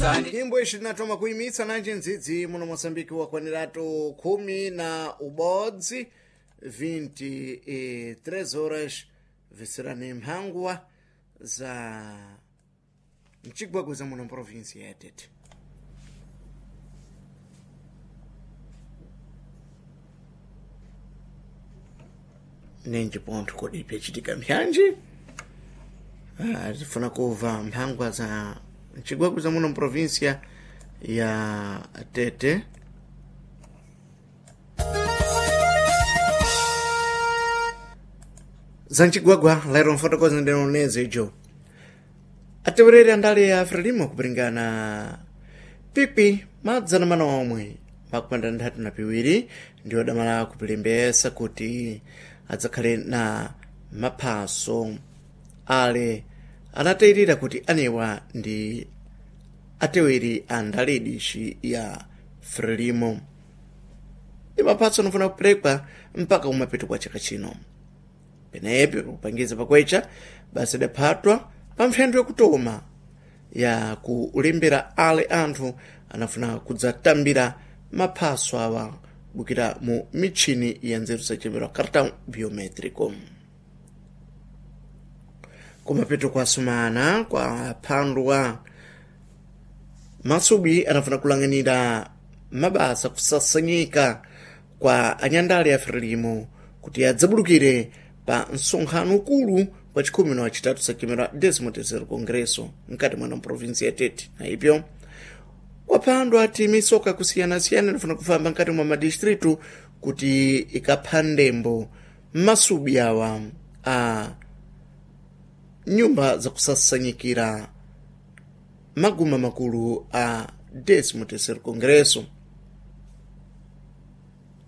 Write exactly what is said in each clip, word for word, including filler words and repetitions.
Nyimbo ishi tinatoma kuimitsa nanji ndzidzi muno Moçambique wakwaniratu khumi na ubodzi vinte e três horas visirani mphangwa za mcigwagwiza muno mprovinsi ya Tete. Nenji pontho kodi pyacitika mpyanji. Ah, tifuna kuva mphangwa za mcigwagwiza muno mprovinsia ya Tete. Za mcigwagwa lero mfotokoza ndinoneze ijo atewereri andale ya Frelimo kupiringana pipi madzana mana omwe makupanda nthatu na piwiri ndiwo damala kupilembesa kuti adzakhale na maphaso ale anatayirira kuti anewa ndi ateweri a ndale dishi ya Frelimo ndi maphaso anafuna kuperekwa mpaka kumapeto kwa chaka chino. Penepo kupangiza pakwecha basi idaphatwa pa mphendwe yakutoma ya kulembera ale anthu anafuna kudzatambira maphaso awa bukira mu mitchini ya nzeru zachembera cartão biométrico. Kumapeto kwa sumana kwa phandwa masubi anafuna kulang'anira mabasa kusasanyika kwa anyandale ya Frelimo kuti adzabulukire pa msonkhano ukulu wa chikhumi na wachitatu sakimera décimo terceiro congresso mkati mwa provinsi ya Tete. Na ipyo kwaphandwa ati misoka kusiyanasiyana inafuna kufamba mkati mwa madistritu kuti ikapha ndembo masubi awa a nyumba zakusasanyikira maguma makulu a décimo terceiro congresso.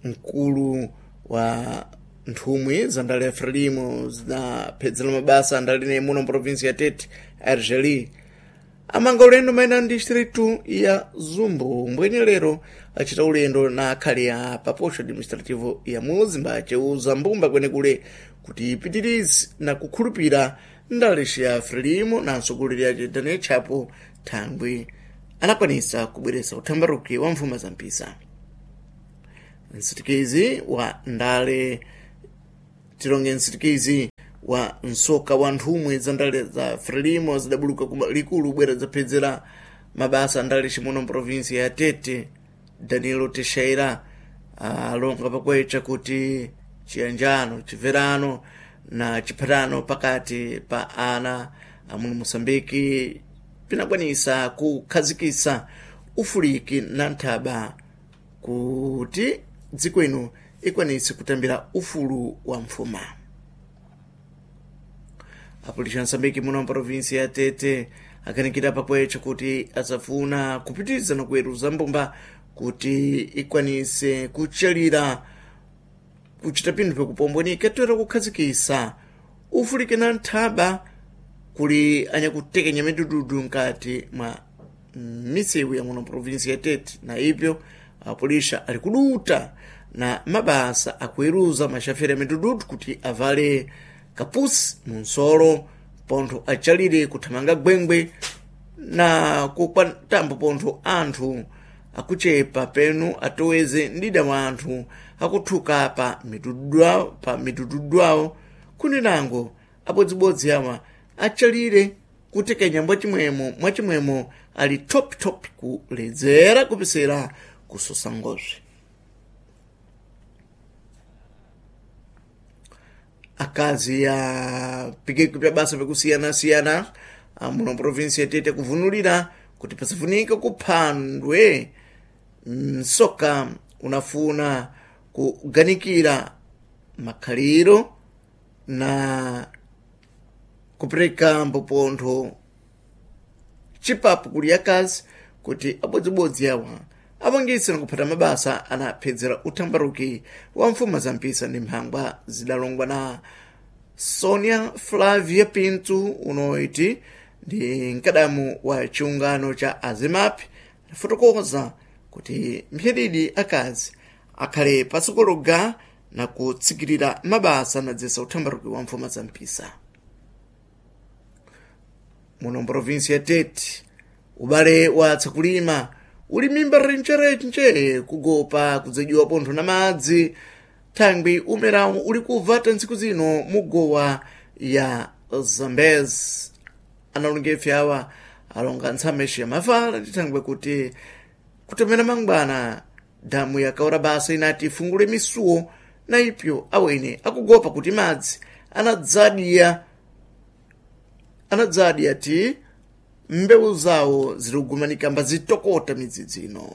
Mkulu wa nthumwi za ndale ya Frelimo zinaphedzera mabasa andale muno mprovinsi ya Tete, Argeli, amanga ulendo maina distritu ya Zumbu mbwenye lero achita ulendo na akhali a paposho administrativo ya Muzimba aceuza mbumba kwenekule kuti ipitirize na kukhulupira ndalexi ya Frelimo na mtsogoleri ace Daniel Chapo thangwi anakwanisa kubweresa uthambaruki wa mfuma za mpisa. Msitikizi wa ndale tilonge msitikizi wa msoka wa nthumwi za ndale za Frelimo zidabuluka ku likulu bwera zaphedzera mabasa a ndale cimuno mprovinsi ya Tete, Danilo Teixeira, alonga pakwecha kuti chiyanjano, chimverano na chiphatano pakati pa ana amuno Moçambike pinakwanisa kukhazikisa ufuliki na nthaba kuti dziko ino ikwanise kutambira ufulu wa mfuma. Apolisi a Moçambique muno mprovinsi ya Tete akanikira pakwecha kuti asafuna kupitiriza na kuweruza mbumba kuti ikwanise kuchalira kuchita pinthu pakupombwenika toera kukhazikisa ufulike na nthaba kuli anyakutekenya midududu mkati mwa misewu ya muno mprovinsi ya Tete. Na ipyo apolisha ali kuduta na mabasa akuweruza mashaferi a midududu kuti avale kapusi munsolo pontho achalire kuthamanga gwengwe na kukwatambo pontho anthu akuchepa penu atoweze ndida wa anthu akuthuka pa midudu awo pa midududu awo kuninango abodzibodzi awa achalire kutekenya mwachimwemo mwachimwemo ali top top kuledzera kupisira kusosa ngozve. Akazi a pikeko pya basa pakusiyana-siyana muno provinsi ya Tete kuvunulira kuti pasafunika kuphandwe msoka unafuna kuganikira makhaliro na kupereka mpopontho chipapu kuli akazi kuti abodzibodzi awa apangitse nakuphata mabasa anaphedzera uthambaruki wa mfuma za mpisa ndi mphangwa zidalongwa na Sonia Flavia Pinto unoiti ndi mkadamu wa chiungano cha Azimapi afotokoza kuti mphedidi akazi akhale pasokologa na kutsikirira mabasa anadzesa uthambaruki wa mfuma za mpisa muno mprovinsi ya Tete. Ubale wa tsakulima uli mimba rencherenche kugopa kudzadyiwa pontho na madzi thangwi umerawu uli kuvata ntsiku zino mugowa ya Zambezi. Analonga ife awa alonga ntsame ya mavala tithangwe kuti kutemera mangwana damu yakaora basa inati ifungule misuwo na ipyo awene akugopa kuti madzi anadzadiya anadzadiya ti mbewu zawo zilikugumanika mbazitokota midzidzi ino.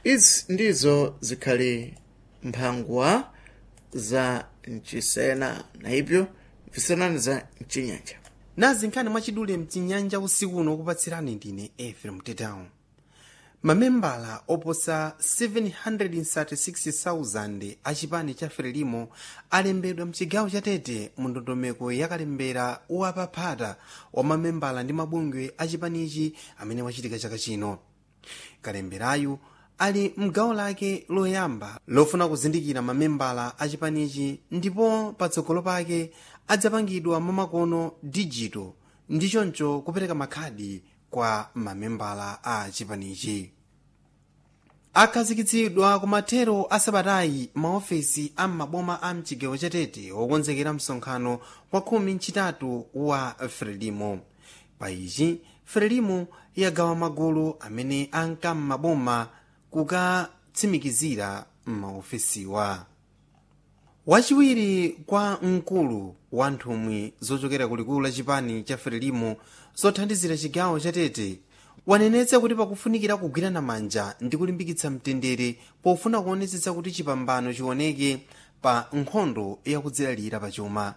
Izi ndizo zikhali mphangwa za mchisena na ipyo mvisenani za mchinyanja. Nazi nkhani mwachidule mchinyanja usiku uno kupatsirani ndine Efrem Tetao. Mamembala oposa zikwi mazana asanu ndi atatu makumi asanu ndi atatu a chipani cha Frelimo alembedwa mchigawo cha Tete mu ndondomeko yakalembera wapaphata wa mamembala ndi mabungwe a chipanichi amene wachitika chaka chino. Kalemberayu ali mgawo lake loyamba lofuna kuzindikira mamembala a chipanichi ndipo patsogolo pake adzapangidwa mwamakono dijito ndi choncho kupereka makhadi kwa mamembala a chipanichi. Akhazikitsidwa kumathero a sabatayi maofesi a m'maboma a mchigawo cha Tete wokonzekera msonkhano wa khumi mchitatu wa Frelimo. Pa ichi Frelimo yagawa magulu amene anka m'maboma kukatsimikizira maofesiwa. Wachiwiri kwa mkulu wa nthumwi zochokera kulikulu la chipani cha Frelimo zothandizira chigawo cha Tete wanenetsa kuti pakufunikira kugwirana manja ndi kulimbikitsa mtendere pofuna kuonetsetsa kuti chipambano chioneke pa nkhondo yakudzilalira pachuma.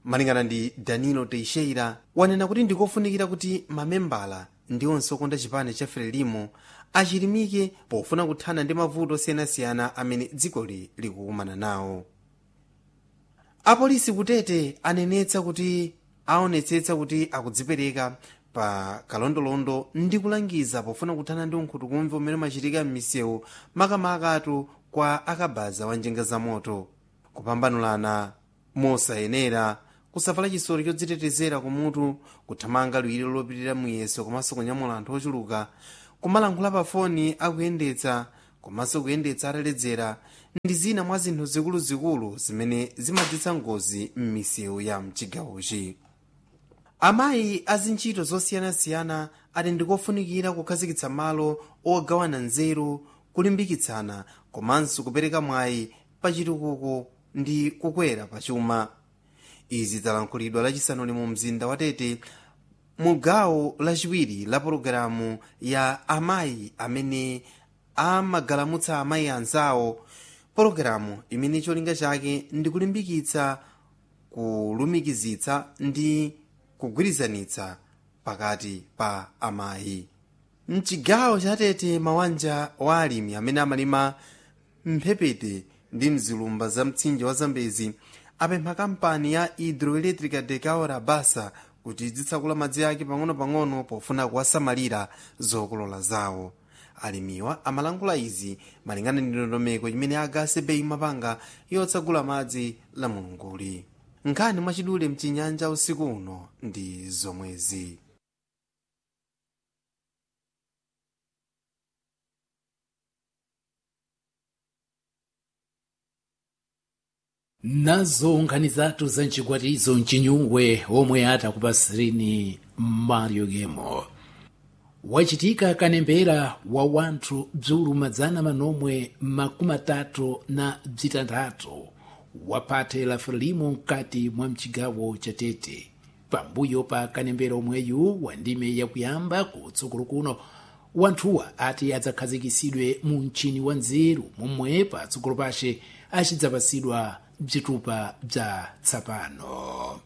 Malingana ndi Danilo Teixeira, wanena kuti ndikofunikira kuti mamembala ndi onse okonda chipani cha Frelimo achilimike pofuna kuthana ndi mavuto osiyanasiyana amene dzikoli likukumana nawo. Apolisi kutete anenetsa kuti aonetsetsa kuti akudzipereka pa kalondolondo ndi kulangiza pofuna kuthana ndi unkhutukumve umene umachitika m'misewu, makamaka kwa akabaza wa njinga za moto, kupambanulana mosayenera, kusavala chisori chodzitetezera kumutu, kuthamanga liwiro lopitirira muyeso komanso kunyamula anthu ochuluka, kumalankhula pa foni akuyendetsa komanso kuyendetsa ataledzera ndi zina mwa zinthu zikuluzikulu zimene zimadzetsa ngozi m'misewu ya mchigawochi. Amayi azintchito zosiyanasiyana ati ndikofunikira kukhazikitsa malo ogawana nzeru, kulimbikitsana komanso kupereka mwayi pa chitukuko ndi kukwera pachuma. Izi zalankhulidwa lachisanuli mu mzinda wa Tete mu gawo lachiwiri la pologalamu ya amayi amene amagalamutsa amayi anzawo, pologalamu imene cholinga chake ndi kulimbikitsa, kulumikizitsa ndi kugwirizanitsa pakati pa amayi mchigawo cha Tete. Mawanja wa alimi amene amalima mphepete ndi mzilumba za mtsinje wa Zambezi apempha kampani ya Hidroelétrica de Cahora Bassa kuti idzitsakula madzi ake pang'ono-pang'ono pofuna kuwasamalira zokolola zawo. Alimiwa amalankhula izi malingana ndi ndondomeko imene agase bei mapanga yotsagula madzi la mulunguli. Nkhani mwachidule mchinyanja usiku uno ndi zomwezi. Nazo nkhani zathu za mchikwatizo mchinyungwe omwe atakupasirini Mario Gemo. Wachitika kanembera wa wanthu bzulu madzana manomwe makumi atatu na bzitanthatu waphathe la Frelimo mkati mwa mchigawo cha Tete. Pambuyo pa kanembera omweyu wa ndime yakuyamba kutsogolo kuno, wanthuwa ati adzakhazikisidwe mu mchini wa nzeru momwe patsogolo pace achidzapasidwa bzitupa bza tsapano.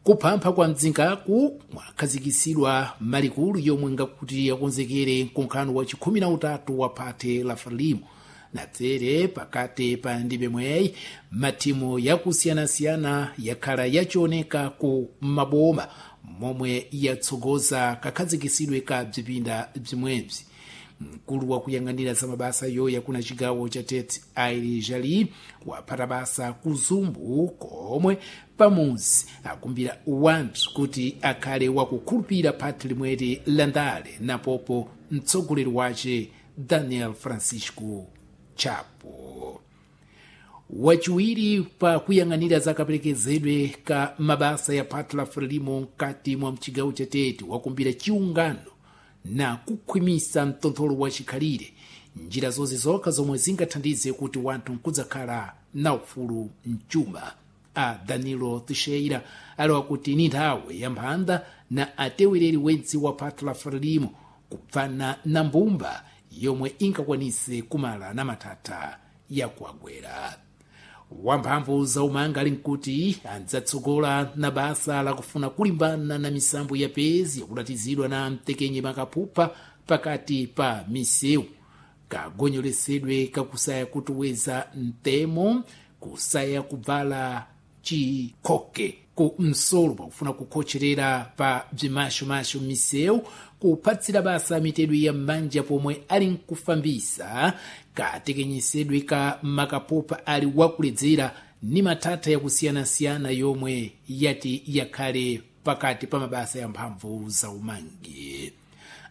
Kuphampha kwa mdzingaku mwakhazikisidwa malikulu yomwe ngakuti yakonzekere mkonkhano wa chikhumi na utatu wa phathe la Frelimo. Natsere pakati pa ndime mweyi mathimu yakusiyanasiyana yakhala yachioneka ku maboma momwe yatsogoza kakhazikisidwe ka bzipinda bzimwebzi. Mkulu wakuyang'anira za mabasa yoya kuna chigawo cha Tete, Aili Jali, waphata basa kuzumbu komwe pamuzi akumbira wanthu kuti akhale wakukhulupirira phati limweri la ndale napopo mtsogoleri wace Daniel Francisco Chapo. Wachiwiri pa kuyang'anira za kaperekezedwe ka mabasa ya phati la Frelimo mkati mwa mchigawo cha Tete wakumbira chiungano na kukhwimisa mtontholo wa chikhalire, njira zonse zokha zomwe zingathandize kuti wanthu nkudzakhala na ufulu mchuma. A Danilo Teixeira alewa kuti ni nthawi ya mphanda na atewereri wentsi wa phati la Frelimo kupfana na mbumba yomwe ingakwanise kumala na mathatha yakuagwera. Wamphamvu za umanga ali nkuti adzatsogola na basa lakufuna kulimbana na misambo ya pezi yakudatizidwa na mtekenye makaphupha pakati pa misewu, kagonyolesedwe kakusaya kutuweza mtemo, kusaya kubvala chikhoke ku msolo pakufuna kukhocherera pa bzimashomasho misewu, kuphatsira basa mitedwe ya m'manja pomwe ali nkufambisa, katekenyesedwe ka makaphupha ali wakuledzera ni mathatha yakusiyanasiyana yomwe yati yakhale pakati pa mabasa ya mphamvu za umangi.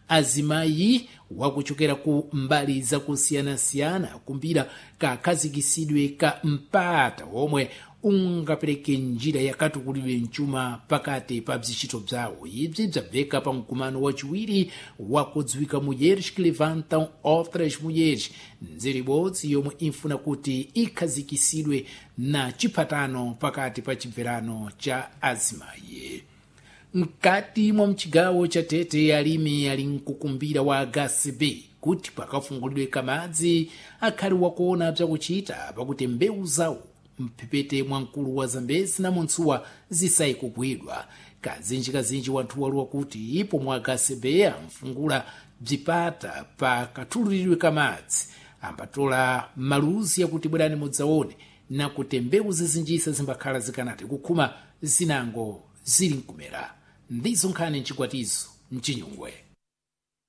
Azimayi wakuchokera ku mbali zakusiyanasiyana kumbira kakhazikisidwe ka mpata omwe ungapereke njira yakatukulidwe mchuma pakati pa bzintchito bzawo. Ibzi bzabveka pa mkumano wachiwiri wakudziwika Mulheres que Levantam Outras Mulheres, nzeru ibodzi yomwe infuna kuti ikhazikisidwe na chiphatano pakati pa chibverano cha azimayi. Mkati mwa mchigawo cha Tete alimi ali mkukumbira wa H C B kuti pakafungulidwe kamadzi akhali wakuona bzakuchita pakuti mbewu zawo mphepete mwa mkulu wa Zambezi na Muntsuwa zisayi kugwidwa. Kazinjikazinji wanthu waluwa kuti pomwe H C B amfungula bzipata pa kathululiridwe kamadzi ambatola maluzi yakuti bwerani mudzaone nakuti mbewu zizinjisa zimbakhala zikanati kukhuma zinango zili nkumera. Ndizo nkhani mchikwatizo mchinyungwe.